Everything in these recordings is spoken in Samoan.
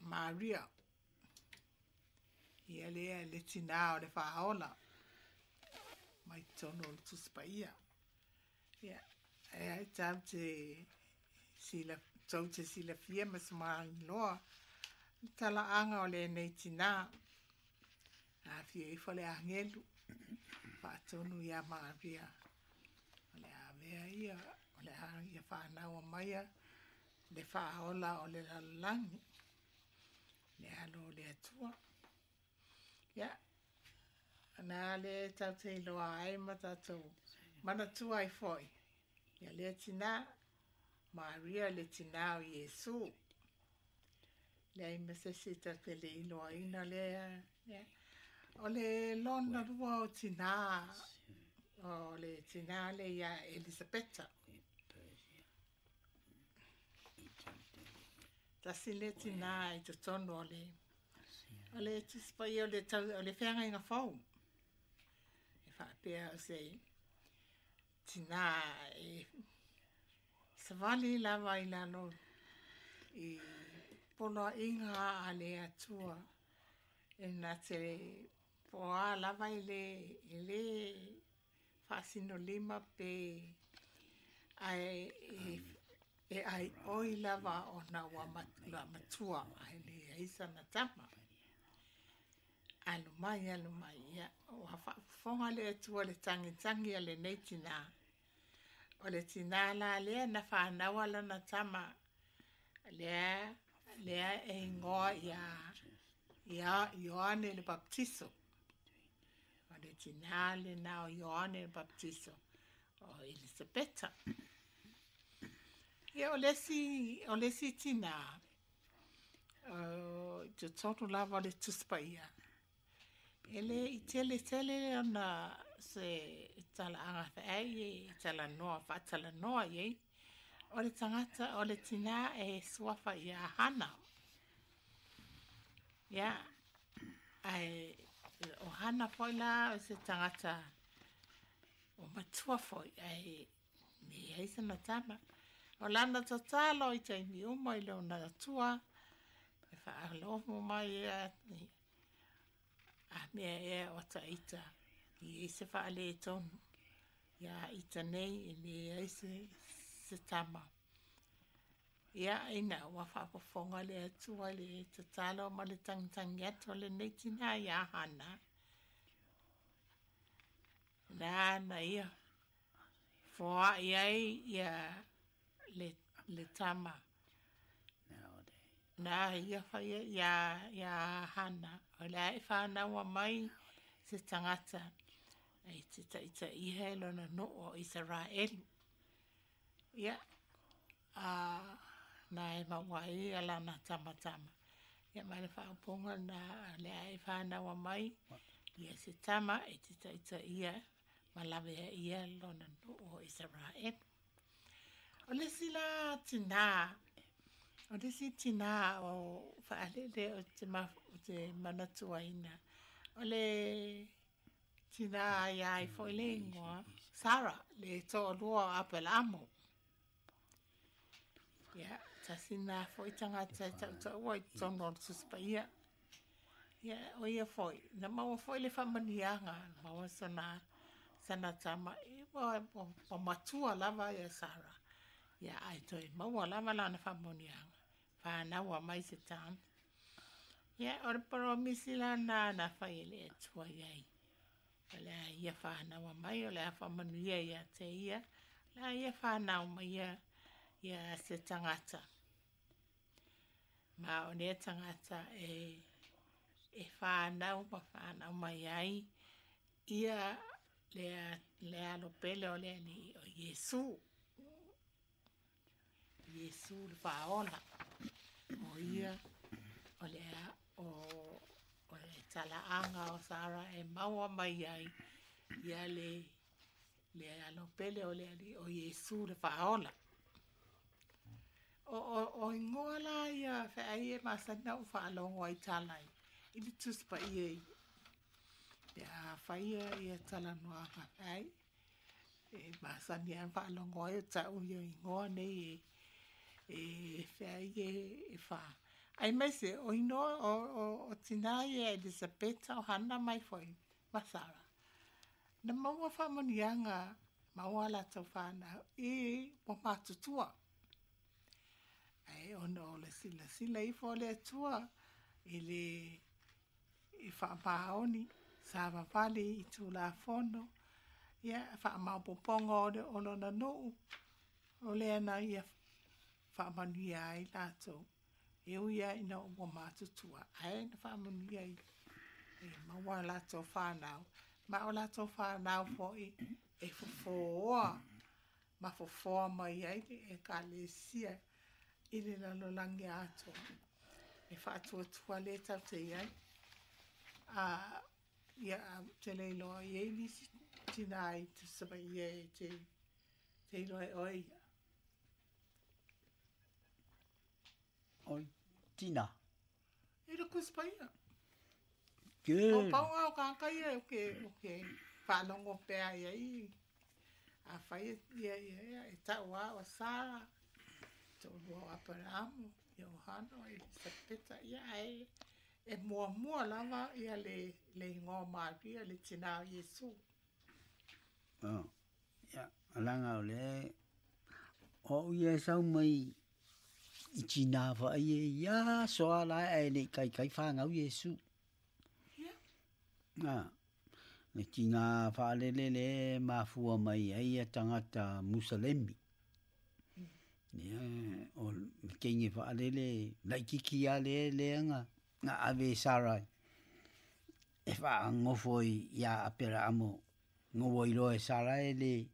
Maria. Ia lea le tinā o le Faaola mai totonu o le Tusi Paia. Ia, e ai tatou te sila, tou te silafia ma sumagiloa le talaaga o lenei tinā. Afio ifo le agelu faatonu iā Maria o le a avea ia, o le a ia fanaua maia le Faaola o le lalolagi, le Alo o le Atua. Ia, na lea tatou te iloa ai ma tatou manatua ai foi ia lea tinā, Maria le tinā o Iesu. Leai ma se isi tatou te le iloaina lea. Ia. O le lona lua o tinā, o le tinā le ia Elisapeta. Tasi le tinā i totonu o le o le Tusi Paia o le tau, o le feagaiga fou. E faapea o se tinā e savali lava i lalo i poloaiga a le Atua e na te poa lava e le faasinolima pe ae e aioi lava ona ua matua ae leai sana tama. Alu mai, alu mai, ia, ua faafofoga le Atua i le tagitagi a lenei tinā. O le tinā la lea na fanaua lana tama, lea, lea e igoa ia, ia Ioane le Baptiso. O le tinā lena o Ioane le Baptiso, o Elisapeta. Ia, o le isi, o le isi tinā, o, i totonu lava o le Tusi Paia, e le i tele tele ona se talaaga feai e talanoa, faatalanoa i ai. O le tagata, o le tinā e suafa ia Hana. Ia, ae o Hana foi la o se tagata o matua foi, ae leai sana tama. O lana tatalo i taimi uma i lona Atua, e faalogo mai ea, a mea ea o ta ita i ai se faaletonu. Ia ita nei e leai se, se tama. Ia, ina ua faafofoga le Atua i le tatalo ma le tagitagi atu a lenei tinā iā Hana, na na ia foai ai ia le, le tama. Na ia faia ia, ia Hana, o le a e fanaua mai se tagata e te taitaia e lona nuu o Isaraelu. Ia, a na e maua ai ia lana tamatama. Ia ma le faaupuga na le a e fanaua mai ia se tama e te taitaia ma lavea ia lona nuu o Isaraelu. O le isi la tinā, o le isi tinā o faalele o te, ma, o te manatuaina, o le tinā ia ai foi le ingoa, Sara, le toalua o Apelaamo. Ia, tasi nā foi tagata e tautaua i totonu o le Tusi Paia. Ia, o ia foi, na maua foi le faamanuiaga, na maua sana, sana tama, e, ua, ua, ua matua lava ia Sara. Ia, ae toe maua lava lana faamanuiaga, fanaua mai se tama. Ia, o le polomisi la na na fai e le Atua i ai. O le a ia fanaua mai, o le a faamanuia ia te ia, o le a ia fanau mai ia, ia se tagata. Ma o lea tagata e, e fanau ma fanau mai ai ia le, le alo pele o le Alii o Iesu. Iesu le Faaola. O ia o le o, o le talaaga o Sara e maua mai ai ia le, le alo pele o le Alii o Iesu le Faaola. O, o, o ingoa la ia feai e masani na ou faalogo ai tala i, i le Tusi Paia i pe a faia ia talanoaga feai. E masani lava faalogo ai o tau ia igoa nei e, e feai e, e fa. Aemaise o inoa o tinā ia Elisapeta o Hana mai foi ma Sara. Na maua faamanuiaga maua a latou fanau i ua matutua. Ae ona o le silasila ifo o le Atua i le i faamaoni savavali i Tulafono, ia faamaopoopoga o le o lona nuu, o lea na ia faamanuia ai latou. E ui lava ina ua matutua, ae na faamanuia i e maua a latou fanau, ma o latou fanau foi e fofoa ma fofoa mai ai le Ekalesia i le lalolagi atoa. E faatuatua lea tatou te i ai. A, ia, ou te le iloa e i ai nisi tinā i Tusi Paia e te, te iloa e oe ia. O tinā. I le Tusi Paia. Ke. O pau o kāka ia o ke, o ke whaalongo pea ia i. A whai ia, ia, ia, e tau a o Sara, to'olua o Aperaamo, ia o Hana, o Elisapeta, ia ae e muamua lava ia le, le igoa o Maria, le tinā o Iesu. Oh, ia, leaga o le o au ia e sau mai i tinā faai e ia aso lava la ae le i taitai fanau Iesu. Ia. Ah, le tinā faalele le mafua mai ai ia tagata Musalemi. Ia, o le teine faalele laitiiti lava le lea na na ave e Sarai e faanofo iā Aperaamo na ua iloa e Sarai le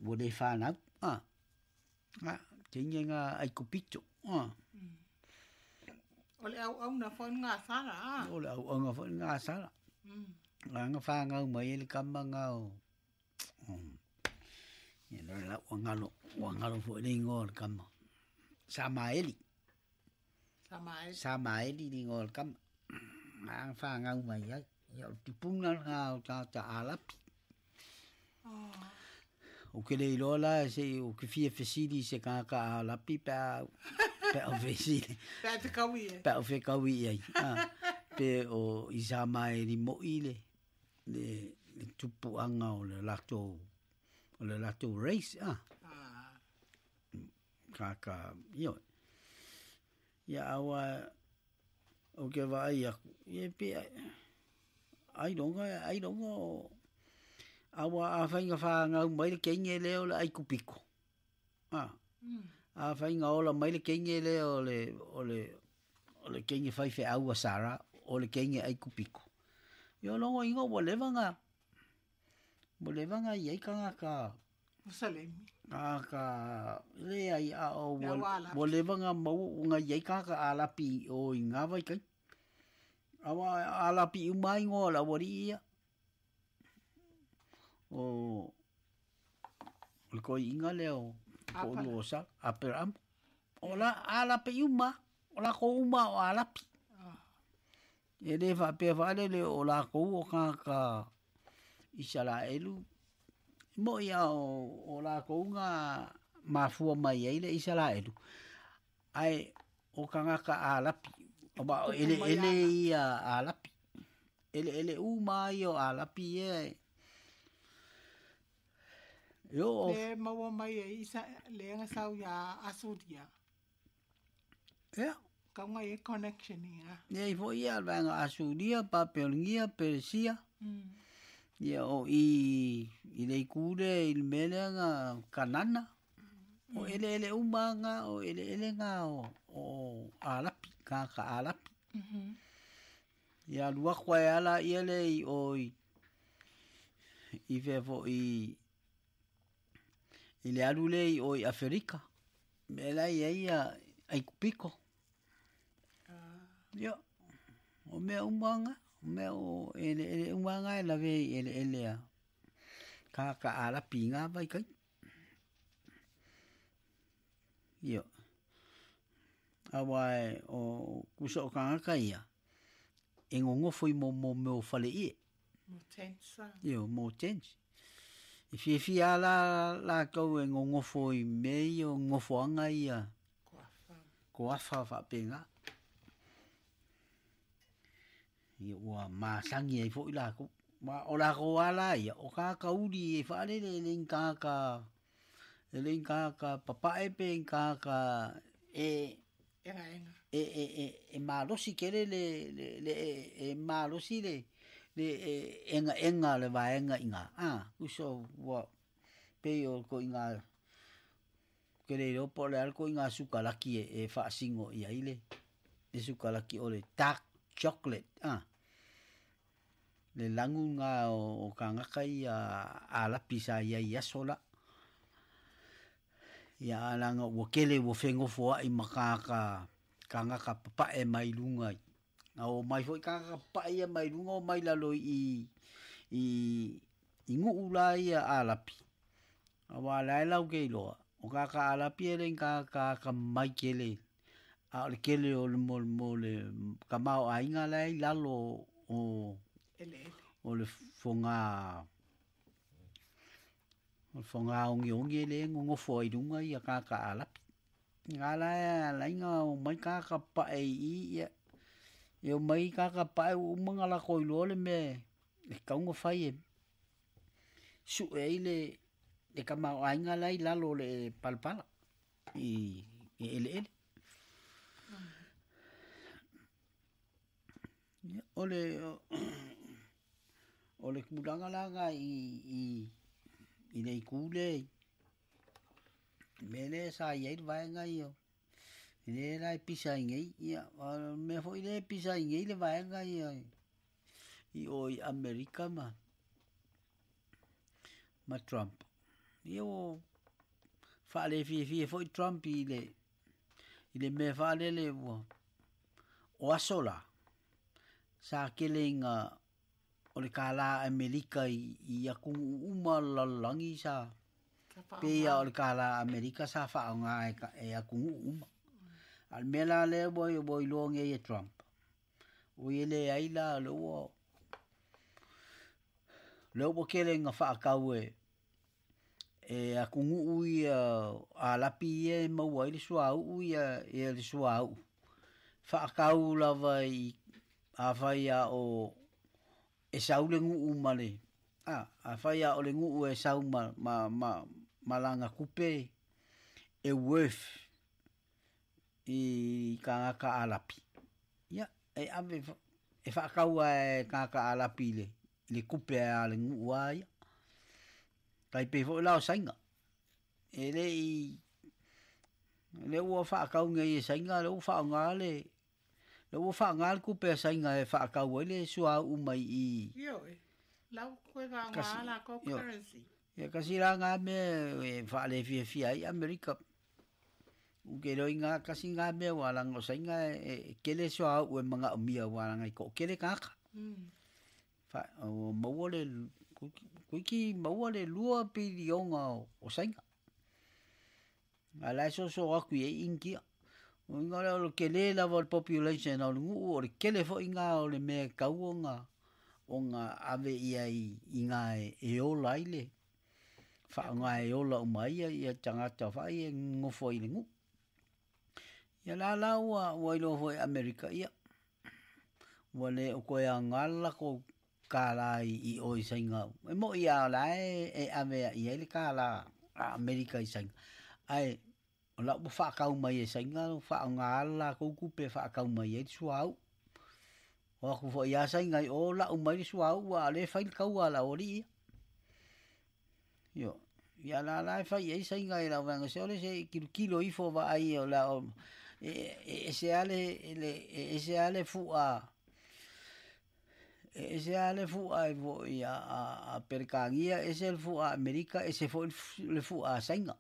ua le fanau. Ah, ah, teine na Aikupito. Ah. O le auauna foi lena a Sara, a? O le auauna foi lena a Sara. Na na fanau mai ai le tama lena o ia lea la ua galo, ua galo foi le igoa o le tama. Samaeli. Samaeli. Samaeli le igoa o le tama. Na na fanau mai ai. Ia o le tupuna lena o tagata Arapi. Oh. Ou te le iloa la se i ou te fia fesili i se tagata Arapi pe a pe a fesili. Pe a fekaui ai. Pe a fekaui i ai. Ah, pe o Isamaeli moi le le le tupuaga o le latou o le latou race ah. Ah. Tagata ioe. Ia aua ou te vaai aku, ia pe ailoga ailoga o aua afai na fanau mai le teine lea o le Aikupito. Ah. Afai na ola mai le teine lea o le o le o le teine faifeau a Sara, o le teine Aikupito. Ia o lona uiga ua leva na ua leva na i ai tagata Musalemi. Tagata leai a o Le ua au Arapi. ua leva na maua na i ai tagata Arapi i o i ngā vaitaimi. Aua Arapi uma lava igoa o le aualii ia. O le toeaina lea o toalua o Sara, Aperaamo. O la Arapi uma, o latou uma o Arapi. E le faapea faalele o latou o tagata Isaraelu, e mo'i lava o latou na mafua mai ai le Isaraelu, ae o tagata Arapi, aua o eleele ia Arapi. Eleele uma lava ia o Arapi ia e e oo. Le maua mai ai isa le na sau ia Asuria. Ia. Kauga i ai connection ia. E i ai foi ia le vaega Asuria, Papelonia, Peresia. Ia o i i le itu lea i le mea lea na Kanana. O eleele uma lava na, o eleele na o o Arapi, tagata Arapi. Ia alu atu ai lava laia lea i o i i fea foi i le alu lea i o i Aferika, mea la e i ai ia Aikupito. Ia, o mea uma lava na, o mea o eleele uma lava na e lavea i eleele a tagata Arapi i na vaitaimi. Ia, aua o tusa o tagata ia, e nonofo i mo mea o faleie. Mo tents. Ia, mo tents. E fiafia lava la latou e nonofo i mea ia o nofoaga ia. Kuafa. koafa faapegā. Ia ua masagi ai foʻi lakou, ma o lakou ala ia o kakauli e faalele e le tagata, e le tagata papae pe tagata e Egaega. E malosi tele le e malosi le egaega le vaega iga a uso ua pei o koiga ke le iloa po o le a le koiga sukalaki e faasino i ai le sukalaki o le dark chocolate a le lagu ga o kagaka ia alapi sa iai i aso la. Ia alaga ua kele ua fegofoaʻi ma kagaka kagaka papaʻe mai luga na o mai foi kagaka papaʻe ia mai luga o mai lalo i nuu la ia alapi. Auā lae lau ke iloa, o kagaka alapi e le kagaka akamai tele, a o le kele o le mo le tamaoaiga lae i lalo o Eleele. O le fogā, o le fogā ogiogi e lē gogofo ai luga ia kagaka alapi. Ga la e alaiga o mai kagaka papaʻe iī, ia e omai kagaka papaʻe ua uma ona lako iloa le mea e tatau ona fai e suʻe ai le tamaoaiga la i lalo o le palapala i eleele. Ia o le tulaga la i le itu le mea lea sa iai le vaega ia lea la e pisa ai nei. Ia o mea foi lea e pisa ai nei le vaega ia i o i Amerika ma Trump. Ia ua faale fiafia foi Trump i le mea faalele ua o aso la sa kele ina o le kālā Amerika i atunuu uma o le lalolagi sa pei o le kālā Amerika sa faaaogā e atunuu uma. A le mea la lea ua iloa nei e Trump, ua ia leai la lea ua kele ina faatau e atunuu ia alapi ia e maua ai le suauu ia le suauu faatau lava i afai a o e sau le nuu ma le afai a o le nuu e sau ma lana tupe e worth i tagata alapi, ia e ave e faatau e tagata alapi i le tupe a le nuu a ia tai pei foi la o Saina e le i le ua faatau nei e Saina, le ua faaaogā le ua faaaogā le tupe a Saina e faatau ai le suauu mai i Ioe. Lau koe faaaogā la kou currency. Ia kasi la ngā mea e faale fiafia ai Amerika. U ke loi ngā kasi ngā mea wa langa o Saina e kele suauu e manaomia wa langa i ko kele kaka. Fa o maua le kuiki maua le 2 piliona o Saina. A la so so aku i India. O inga le o le kele lava o le population o le nuu o le kele foi ngā o le mea kau o ngā ave ia i ngā e ola ai le faaaogā e ola uma ai ia tagata faai e gogofo ai i le nuu. Ia la la ua iloa foi Amerika ia ua le o toe aogā le latou kālā i o i Saina. E moʻi a la e ave i ai le kālā a Amerika i Saina. Ae o lau ua faatau mai e Saina faaaogā le latou tupe e faatau mai ai le suauu. O aku foi ia Saina i o lau mai le suauu a o lea e fai le taua a le aualii ia. Io ia la la e fai ai Saina i lau vaega se ole se kilokilo ifo vaai o la o e ese a le e ese a le fuʻa e ese a le fuʻa e foi a Perekania, ese le fuʻa Amerika, ese foi le fuʻa a Saina.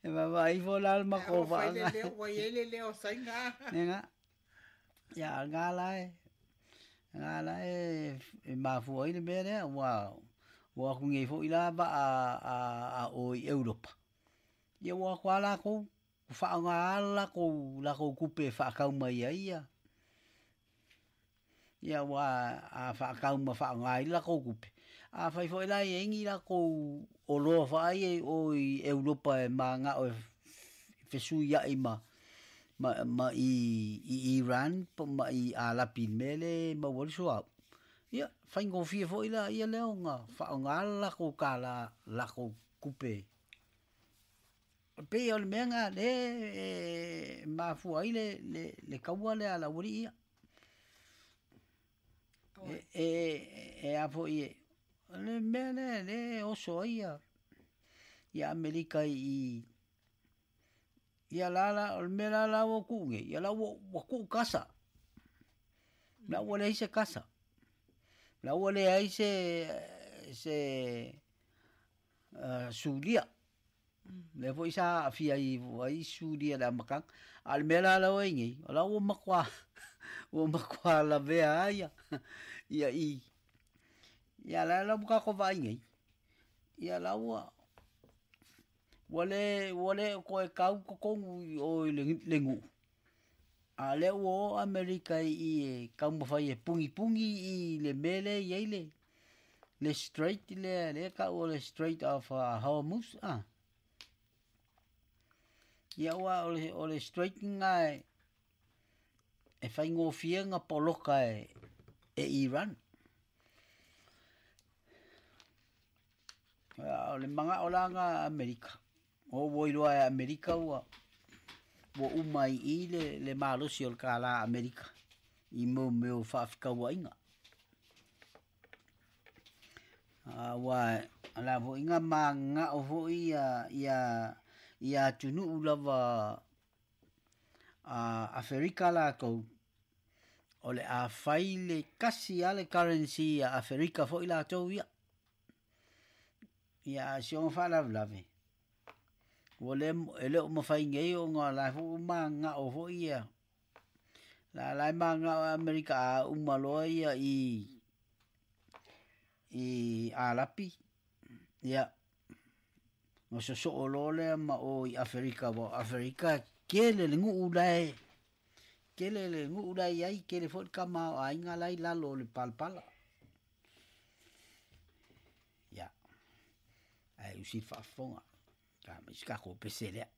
E vaavaai ifo la le makou Ua fai le faaga. Leo, ua iai le leo o Saina. Ega ia ga la e mafua ai le mea lea ua aku nei foi la vaa a o i Europa. Ia ua aku a lakou faaaogā lakou tupe e faatau mai ai ia. Ia ua a faatau ma faaaogā ai lakou tupe. Afai foi la e ai ni lakou oloa faai e o i Europa e magao e fesuia'i ma ma ma i i Iran po ma i Alapi i le mea lea e maua ai le suauu, ia, faigofie foi laia lea ona faaaoga le latou kālā latou tupe. E pei o le mea lena lea e mafua ai le le le taua lea a le aualii ia. E e a foi e o le mea lea lea e oso ai ia ia Amerika i ia la la o le mea la la ua tuu nei, ia la ua ua tuu kasa. La ua leai se kasa. La ua leai se se Suria. Lea foi sa aafia ai ai Suria i le amataga. A o le mea la la ua i ai nei, o la ua matua ua matua lavea lava ia ia i. Ia la la ua tatou vaai nei, ia la ua ua le ua le o toe tau totonu i o i le nuu, a o lea ua o Amerika i i e taumafai e punipuni i le mea lea e i ai le le strait lea lea e tau o le Strait of Hormuz a. Ia aua o le o le strait lena e e faigofie ona poloka e e Iran. O le manao la lena a Amerika, o ua iloa e Amerika ua ua uma ai i i le le malosi o le kālā Amerika i mo mea o faafetauaiga. Aua o le a foi na mananao foi ia ia ia atunuu lava a Aferika latou, o le a fai le tasi lava le currency a Aferika foi latou ia. Ia a o si ona faalavelave, ua le e le o mafai nei ona o la foi ua mananao foi ia la la e mananao e Amerika a uma loa ia i i Alapi, ia ona sosoo loa lea ma o i Aferika aua o Aferika e tele le nuu la e tele le nuu la e i ai, tele foi le tamaoaiga la e i lalo o le palapala. Ia, ae usi le faafofoga, ta mai si tatou pese lea.